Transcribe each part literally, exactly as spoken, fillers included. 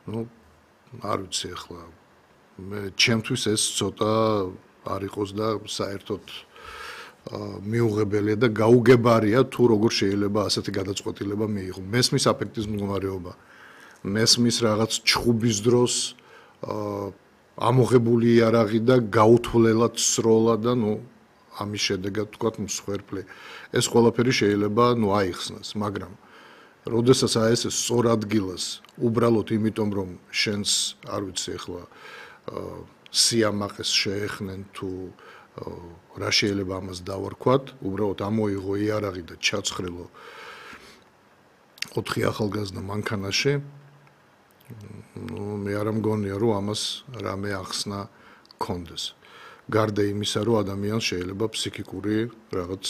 ну არ ვიცი ახლა მე ჩემთვის ეს ცოტა არ იყოს და საერთოდ მიუღებელია და გაუგებარია თუ როგორ შეიძლება ასეთი გადაწყვეტილება მიიღო. მესმის აფექტის მდგომარეობა, მესმის რაღაც ჩხუბის დროს ამოღებული იარაღი და გაუთვლელად სროლა და ნუ ამის შედეგად თქვათ მსხვერპლი. ეს ყველაფერი შეიძლება ნუ აიხსნას, მაგრამ როდესაც აი ეს სწორ ადგილას უბრალოდ იმიტომ რომ შენს არ ვიცი ახლა სიამაყეს შეეხნენ თუ რა შეიძლება ამას დავარქვათ, უბრალოდ ამოიღო იარაღი და ჩაცხრილო ოთხი ახალგაზრდა მანქანაში. ну მე არ მგონია რომ ამას რამე ახსნა კონდეს. გარდა იმისა რომ ადამიანს შეიძლება ფსიქიკური რაღაც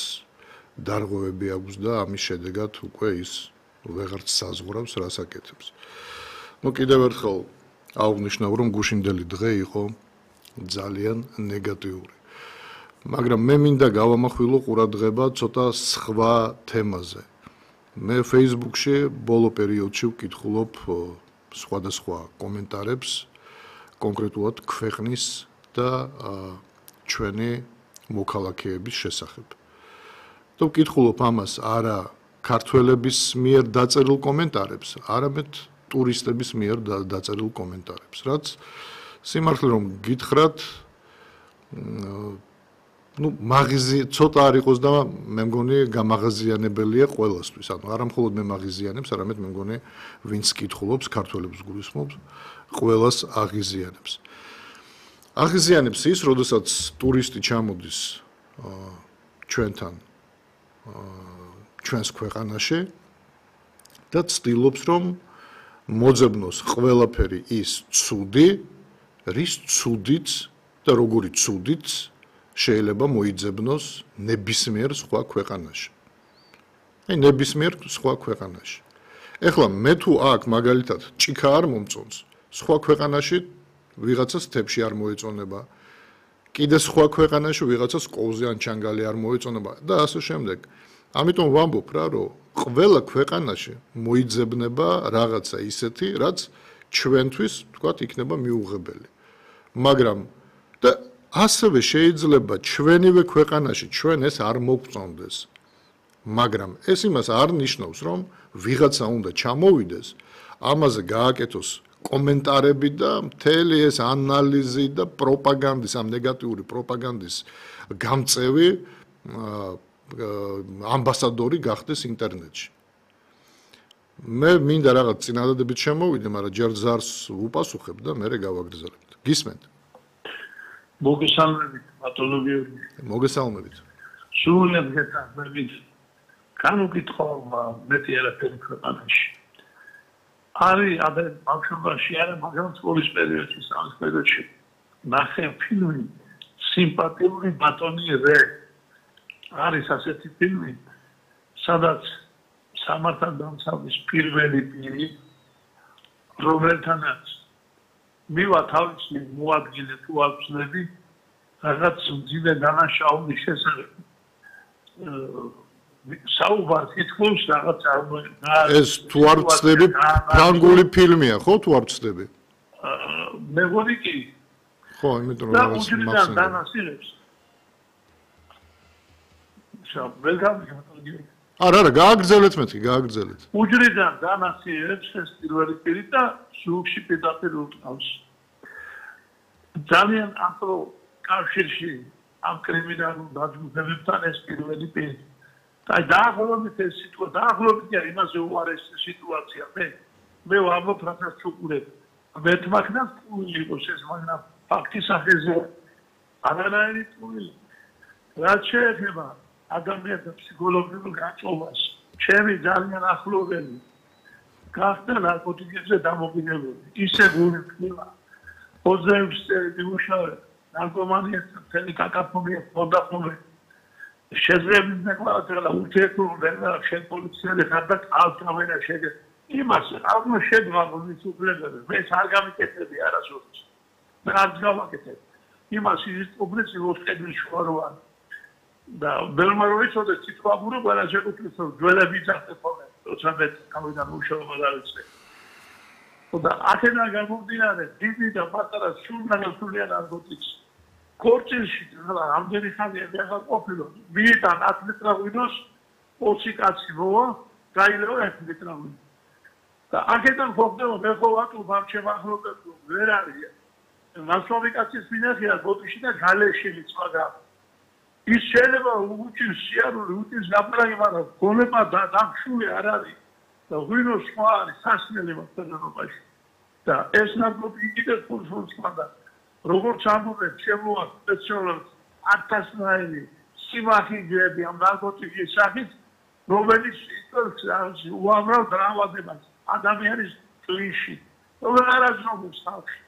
დარღვევები აქვს და ამის შედეგად უკვე ის ვეღარც საზღვრავს რას აკეთებს. ну კიდევ ერთხელ აღვნიშნავ რომ გუშინდელი დღე იყო ძალიან ნეგატიური. მაგრამ მე მინდა გავამახვილო ყურადღება ცოტა სხვა თემაზე. მე Facebook-ში ბოლო პერიოდში ვკითხულობ სხვადასხვა კომენტარებს კონკრეტულად ქვეყნის და ჩვენი მოქალაქეების შესახებ. და ვკითხულობ ამას არა ქართველების მიერ დაწერილ კომენტარებს, არამედ ტურისტების მიერ დაწერილ კომენტარებს, რაც სიმართლე რომ გითხრათ, ну მაგიზი ცოტა არ იყოს და მე მგონი გამაღაზიანებელია ყველასთვის. ანუ არა მხოლოდ მე მაგიზიანებს, არამედ მე მგონი ვინც კითხულობს, ქართველებს გულისხმობს, ყველას აღიზიანებს. აღიზიანებს ის, როდესაც ტურისტი ჩამოდის ჩვენთან ჩვენს ქვეყანაში და ცდილობს რომ მოძებნოს ყველაფერი ის ცუდი, რის ცუდიც და როგორი ცუდიც შეიძლება მოიძებნოს ნებისმიერ სხვა ქვეყანაში. აი ნებისმიერ სხვა ქვეყანაში. ეხლა მე თუ აქ მაგალითად ჭიქა არ მომწონს, სხვა ქვეყანაში ვიღაცას თებში არ მოეწონება, კიდე სხვა ქვეყანაში ვიღაცას კოვზე ან ჩანგალი არ მოეწონება და ასე შემდეგ. ამიტომ ვამბობ რა, რომ ყველა ქვეყანაში მოიძებნება რაღაცა ისეთი, რაც ჩვენთვის, თქვათ, იქნება მიუღებელი. მაგრამ და ასევე შეიძლება ჩვენივე ქვეყანაში ჩვენ ეს არ მოგწონდეს. მაგრამ ეს იმას არ ნიშნავს, რომ ვიღაცა უნდა ჩამოვიდეს, ამაზე გააკეთოს კომენტარები და მთელი ეს ანალიზი და პროპაგანდის, ამ ნეგატიური პროპაგანდის გამწევი ამბასადორი გახდეს ინტერნეტში. მე მინდა რაღაც წინადადებით შემოვიდე, მაგრამ ჯერ ზარს ვუპასუხებ და მე გავაგრძელებთ. გისმენთ? მოგესალმებით, ბატონო გიორგი. მოგესალმებით. სრულიად გეთანხმებით. განუკითხავ მეტი არაფერი ქვეყანაში. არის ადრე ბავშვობაში არა, მაგრამ სკოლის პერიოდში, სამის პერიოდში ნახე ფილმი სიმპათიური ბატონი რე. არის ასეთი ფილმი, სადაც სამართალ დამცავლის პირველი პირი, რომელთანაც მივა თავისი მოადგილე თუ აღწნები, რაღაც მძიმე დანაშაულის შესახებ საუბარ თითქოს რაღაც ეს თუ არ ვწდები ფრანგული ფილმია, ხო თუ არ ვწდები? მე მგონი კი. ხო, იმიტომ რომ რაღაც მახსენდება. დანასილებს. არა, არა, გააგრძელეთ მეთქი, გააგრძელეთ. უჯრედან დანასილებს ეს პირველი პირი და სულში პირდაპირ უყავს. ძალიან ახლო კავშირში ამ კრიმინალურ დაჯგუფებებთან ეს პირველი პირი. და დაახლოებით ეს სიტუაცია, დაახლოებით იმაზე უარეს სიტუაცია. მე მე ვამბობ რასაც უყურებ. მეთმაქნას პული იყოს ეს, მაგრამ ფაქტის სახეზე არანაირი პული. რაც შეეხება ადამიანთა ფსიქოლოგიურ გაწყობას, ჩემი ძალიან ახლოველი გახდა ნარკოტიკებზე დამოკიდებული. ისე გული ხდება. ოცდაექვსი წელი იმუშავე, ნარკომანიასთან მთელი კაკაფონია ხონდა. შეძლებდნენ ნაკლავად ურთიერთობა შენ პოლიციელი ხარ და ალტრავენა შეგე. იმას აღმა შეგვა მის უფლებები. მე არ გამიკეთები არასოდეს. მე არ გავაკეთებ. იმას ის პრობლემები ვოთხედი შუაროვან. და ბელმა რო იცოდეს თვითმაგურო ყველა შეგუწევს ძველები ძახტე ხოლმე. როცა მე თავიდან მუშაობა დავიწყე. და აქედან გამომდინარე დიდი და პატარა სულნაგასულია ნარკოტიკს. ქორწილში რამდენი ხანია ახლა ყოფილო მიიტან ათ მეტრაღვინოს ოცი კაცი მოვა გაილეო ერთ მეტრაღვინო. და აქედან ხდება მე ხო ვატყობ ამ შემახლებებს ვერ არის. მასშტაბი კაცის მინახია ბოტიში და გალეშილი სხვა ის შეიძლება უჩის სიარული უჩის გაპრაგი მაგრამ გონება და დახშული არ არის და ღვინო სხვა არის სასმელი მასწავლებლობაში და ეს ნარკოტიკი კიდევ ფულს ხმდა როგორც ამბობენ შემოვა სპეციალურად ათასნაირი სიმახიჯები ამ ნარკოტიკის სახით რომელიც იწვევს უამრავ დრამატებას ადამიანის წვიში როგორ არაზრობს ხალხი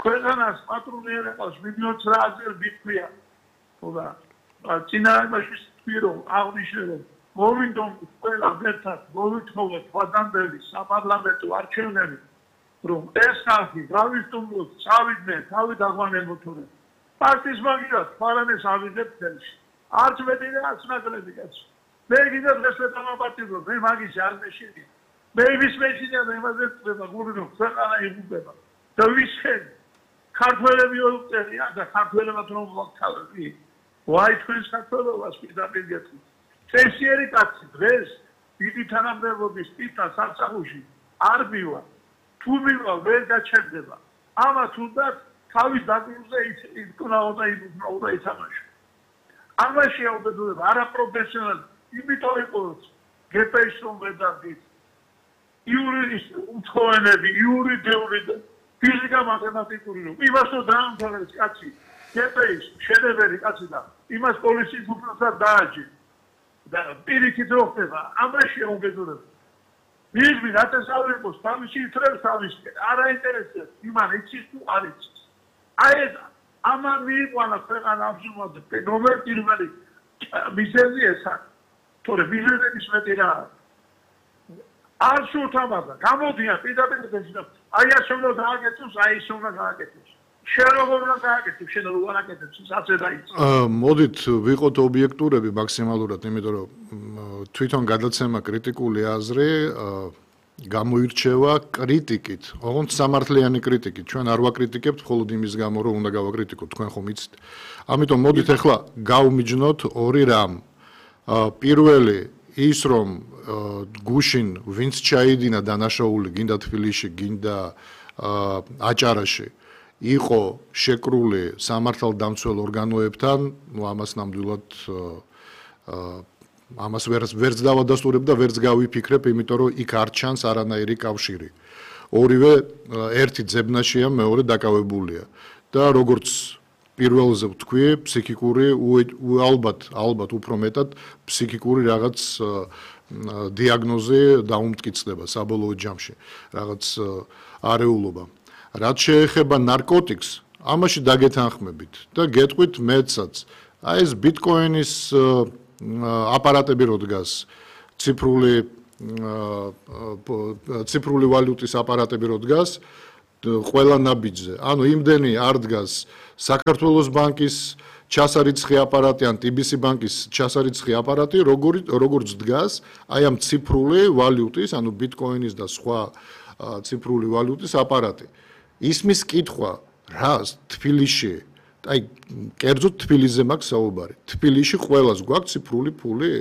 ქვეყანას პატრონიერებას მილიონს რაზერ ბიქვია და წინააღმდეგ ვთქვირო აღნიშნულო მოვიდომ ყველა ერთად მოვითხოვოთ ვადანდელი საპარლამენტო არჩევნები რომ ეს ხალხი გავისტუმროთ წავიდნენ თავი დაგვანებოთურე პარტიის მაგივრად პარლამენტს ავიღებთ ხელში არც მეტი და არც ნაკლები კაცო მე კიდევ დღეს ვეთამაპატიმრო მე მაგის არ მეშინია მე ვის მეშინია და იმაზე წდება გურინო ქვეყანა იღუპება და ვისხენ ქართველები ოწერია და ქართველებად რომ მოხთავები ვაი თქვენ საქართველოს პირდაპირ გეტყვით წესიერი კაცი დღეს დიდი თანამდებობის პიტა სასახუში არ მივა თუ მივა ვერ გაჩერდება ამათ უნდა თავის დაკრძალვაზე იტკნაოდა იბრძოდა ითამაშა ამაში აუბედურება არაპროფესიონალი იმიტომ იყოს გპ-ს რომ ვერ დაგდით იურის უცხოენები იურიდიული და ფიზიკა მათემატიკური რომ იმას რომ დაამთავრებს კაცი გპ-ს შედევრი კაცი და იმას პოლიციის უფროსად დააჯი და პირიქით რო ხდება ამაში აუბედურება მიღმი რატესავებოს თავისი თრებს თავისკენ არ აინტერესებს იმან იცის თუ არ იცის აი ეს ამან მიიყვანა ქვეყანა ამჟამად ნომერ პირველი მიზეზი ესა თორე მიზეზების მეტი რა არ შევთავაზა გამოდიან პირდაპირ და აი ასე უნდა გააკეთოს აი ესე უნდა გააკეთოს შენ როგორ უნდა გააკეთოს შენ როგორ გააკეთოს ასე დაიწყო მოდით ვიყოთ ობიექტურები მაქსიმალურად იმიტომ რომ თვითონ გადაცემა კრიტიკული აზრი გამოირჩევა კრიტიკით ოღონდ სამართლიანი კრიტიკით ჩვენ არ ვაკრიტიკებთ მხოლოდ იმის გამო რომ უნდა გავაკრიტიკოთ თქვენ ხომ იცით ამიტომ მოდით ახლა გავმიჯნოთ ორი რამ პირველი ის რომ გუშინ ვინც ჩაიდინა დანაშაული გინდა თბილისში გინდა აჭარაში იყო შეკრული სამართალდამცველ ორგანოებთან ნუ ამას ნამდვილად ამას ვერც ვერც დავადასტურებ და ვერც გავიფიქრებ იმიტომ რომ იქ არ ჩანს არანაირი კავშირი ორივე ერთი ძებნაშია მეორე დაკავებულია და როგორც პირველზე ვთქვი ფსიქიკური ალბათ ალბათ უფრო მეტად ფსიქიკური რაღაც დიაგნოზი დაუმტკიცდება საბოლოო ჯამში რაღაც არეულობა რაც შეეხება ნარკოტიკს ამაში დაგეთანხმებით და გეტყვით მეცაც აი ეს ბიტკოინის აპარატები რო დგას ციფრული ციფრული ვალუტის აპარატები რო დგას ყველა ნაბიჯზე ანუ იმდენი არ დგას საქართველოს ბანკის ჩასარიცხი აპარატი ან ტიბ-ს ბანკის ჩასარიცხი აპარატი როგორ როგორც დგას აი ამ ციფრული ვალუტის ანუ ბიტკოინის და სხვა ციფრული ვალუტის აპარატი ისმის კითხვა რას თბილისში აი კერძოდ თბილისზე მაქვს საუბარი თბილისში ყველას გვაქვს ციფრული ფული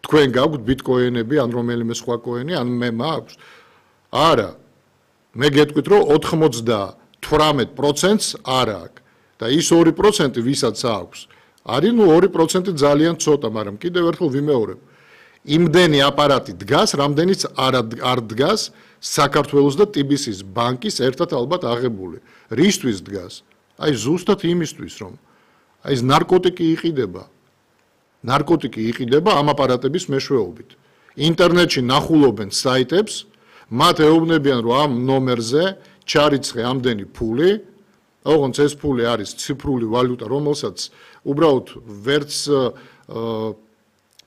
თქვენ გაქვთ ბიტკოინები ან რომელიმე სხვა კოინი ან მე მაქვს არა მე გეტყვით რომ ოცდათვრამეტ პროცენტს არ აქვს და ის ორი პროცენტი ვისაც აქვს არის ნუ ორი პროცენტი ძალიან ცოტა მაგრამ კიდევ ერთხელ ვიმეორებ იმდენი აპარატი დგას რამდენიც არ არ დგას საქართველოს და ტიბ-ს ბანკის ერთად ალბათ აღებული რისთვის დგას აი ზუსტად იმისთვის რომ აი ეს ნარკოტიკი იყიდება ნარკოტიკი იყიდება ამ აპარატების მეშვეობით ინტერნეტში ნახულობენ საიტებს მათ ეუბნებიან რომ ამ ნომერზე ჩარიცხე ამდენი ფული ოღონდ ეს ფული არის ციფრული ვალუტა რომელსაც უბრალოდ ვერც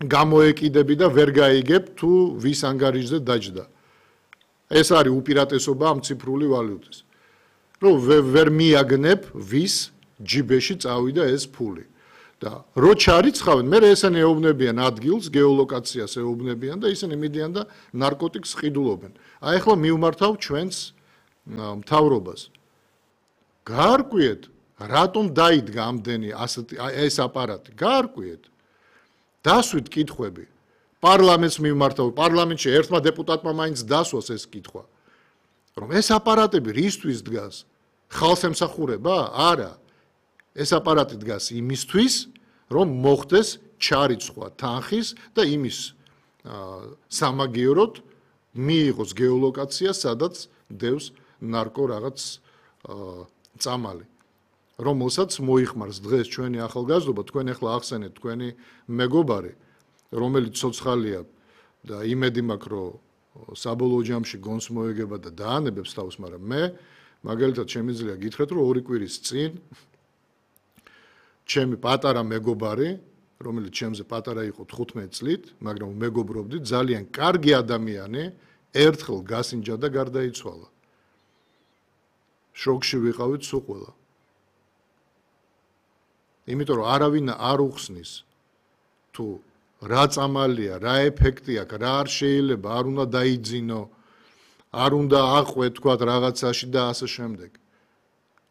გამოეკიდები და ვერ გაიგებ თუ ვის ანგარიშზე დაჯდა ეს არის უპირატესობა ამ ციფრული ვალუტის რომ ვერ მიაგნებ ვის ჯიბეში წავიდა ეს ფული და რო ჩარიცხავენ მე ესენი ეუბნებიან ადგილს გეოლოკაციას ეუბნებიან და ისინი მიდიან და ნარკოტიკს ყიდულობენ აი ახლა მივმართავ ჩვენს მთავრობას. გაარკვიეთ, რატომ დაიდგა ამდენი ასეთი ეს აპარატი? გაარკვიეთ. დასვით კითხვები. პარლამენტს მიმართავ, პარლამენტში ერთმა დეპუტატმა მაინც დასვას ეს კითხვა. რომ ეს აპარატები რისთვის დგას? ხალხს ემსახურება? არა. ეს აპარატი დგას იმისთვის, რომ მოხდეს ჩარიცხვა თანხის და იმის სამაგიეროდ მიიღოს გეოლოკაცია, სადაც დევს ნარკო რაღაც წამალი. რომელსაც მოიხმარს დღეს ჩვენი ახალგაზრდობა, თქვენ ახლა ახსენეთ თქვენი მეგობარი, რომელიც ცოცხალია და იმედი მაქვს, რომ საბოლოო ჯამში გონს მოეგება და დაანებებს თავს, მაგრამ მე მაგალითად შემიძლია გითხრათ, რომ ორი კვირის წინ ჩემი პატარა მეგობარი, რომელიც ჩემზე პატარა იყო თხუთმეტ წლით, მაგრამ მეგობრობდით, ძალიან კარგი ადამიანი, ერთხელ გასინჯა და გარდაიცვალა. შოკში ვიყავით სულ ყველა. იმიტომ რომ არავინ არ უხსნის თუ რა წამალია, რა ეფექტი აქვს, რა არ შეიძლება, არ უნდა დაიძინო, არ უნდა აყვე თქვათ რაღაცაში და ასე შემდეგ.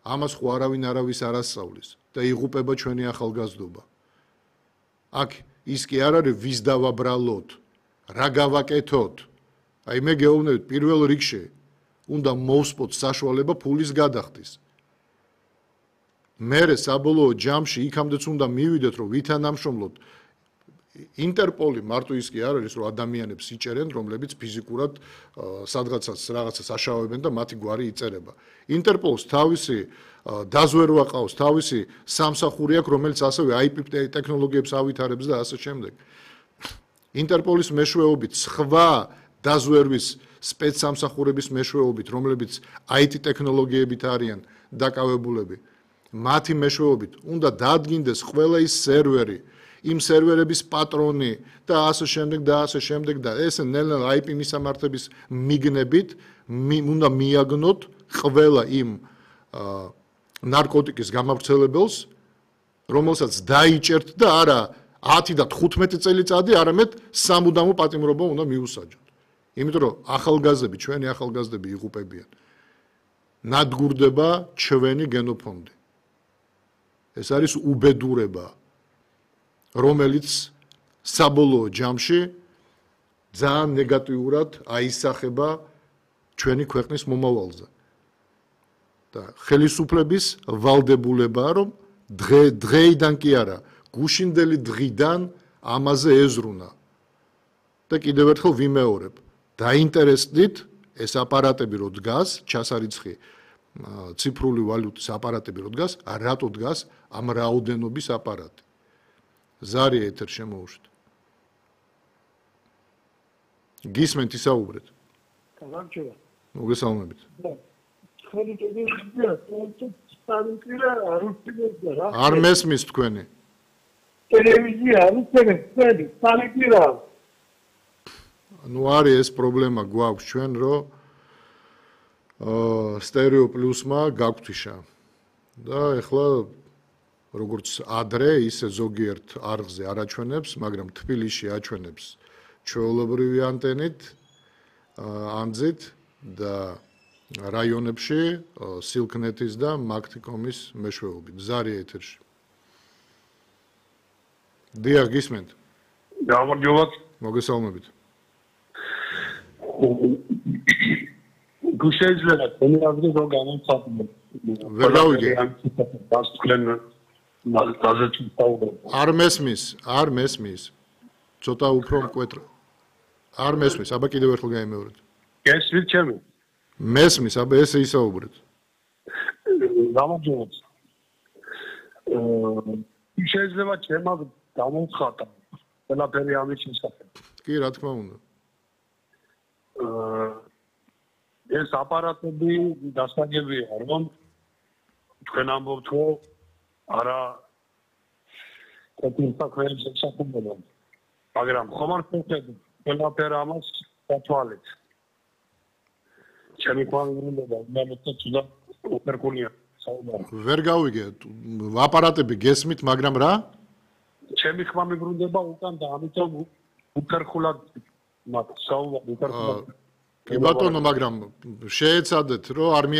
ამას ხო არავინ არავის არ ასწავლის და იღუპება ჩვენი ახალგაზრდობა. აქ ის კი არ არის ვის დავაბრალოთ, რა გავაკეთოთ. აი მე გეუბნებით პირველ რიგში უნდა მოვსპოთ საშუალება ფულის გადახდის. მერე საბოლოო ჯამში იქამდეც უნდა მივიდეთ, რომ ვითანამშრომლოთ. ინტერპოლი მარტო ის კი არ არის, რომ ადამიანებს იჭერენ, რომლებიც ფიზიკურად სადღაცაც რაღაცას აშავებენ და მათი გვარი იწერება. ინტერპოლს თავისი დაზვერვა ყავს, თავისი სამსახური აქვს, რომელიც ასევე აი პი ტექნოლოგიებს ავითარებს და ასე შემდეგ. ინტერპოლის მეშვეობით სხვა დაზვერვის სპეცსამსახურების მეშვეობით, რომლებიც აი ტი ტექნოლოგიებით არიან დაკავებულები, მათი მეშვეობით უნდა დადგინდეს ყველა ის სერვერი, იმ სერვერების პატრონი და ასე შემდეგ და ასე შემდეგ და ეს ნელ-ნელა აი პი მისამართების მიგნებით უნდა მიაგნოთ ყველა იმ ნარკოტიკის გამავრცელებელს, რომელსაც დაიჭერთ და არა ათი და თხუთმეტი წელიწადი, არამედ სამუდამო პატიმრობა უნდა მიუსაჯოთ. იმიტომ რომ ახალგაზრდები, ჩვენი ახალგაზრდები იღუპებიან. ნადგურდება ჩვენი გენოფონდი. ეს არის უბედურება, რომელიც საბოლოო ჯამში ძალიან ნეგატიურად აისახება ჩვენი ქვეყნის მომავალზე. და ხელისუფლების ვალდებულებაა, რომ დღე დღეიდან კი არა, გუშინდელი დღიდან ამაზე ეზრუნა. და კიდევ ერთხელ ვიმეორებ, დაინტერესდით ეს აპარატები რო დგას, ჩასარიცხი ციფრული ვალუტის აპარატები რო დგას, რატო დგას ამ რაოდენობის აპარატი. ზარი ეთერ შემოუშვით. გისმენთ ისაუბრეთ. გამარჯობა. მოგესალმებით. არ მესმის თქვენი. ტელევიზია არ უწევენ თქვენი, სალიკირა. ნუ არის ეს პრობლემა გვაქვს ჩვენ, რომ სტერეო პლუსმა გაგვთიშა. და ეხლა როგორც ადრე, ისე ზოგიერთ არხზე არ აჩვენებს, მაგრამ თბილისში აჩვენებს ჩვეულებრივი ანტენით, ანძით და რაიონებში სილკნეთის და მაგთიკომის მეშვეობით. ზარი ეთერში. დიახ, გისმენთ. გამარჯობა. მოგესალმებით. გუშეძლება თემაზე რო გამომხატო. ვერ გავიგე. დასკვლენ მაგაზეთი თავდა. არ მესმის, არ მესმის. ცოტა უფრო მკვეთრ. არ მესმის, აბა კიდევ ერთხელ გაიმეორეთ. გესმით ჩემი? მესმის, აბა ესე ისაუბრეთ. გამარჯობა. აა შეიძლება ჩემმა გამომხატა. ყველაფერი ამის შესახებ. კი, რა თქმა უნდა. აა ეს აპარატები დასაგებია, რომ თქვენ ამბობთ, რომ არა კეთილსა ქვენებს შესაძლებლობა. მაგრამ ხომ არ ხდება ყველაფერ ამას დათვალეთ. ჩემი ყვავილობა უმეტეს თუდა უპერკუნია საუბარი. ვერ გავიგე, აპარატები გესმით, მაგრამ რა? ჩემი ხმა მიბრუნდება უკან და ამიტომ უპერკულად მათ საუბარი უპერკულად. კი ბატონო, მაგრამ შეეცადეთ, რომ არმია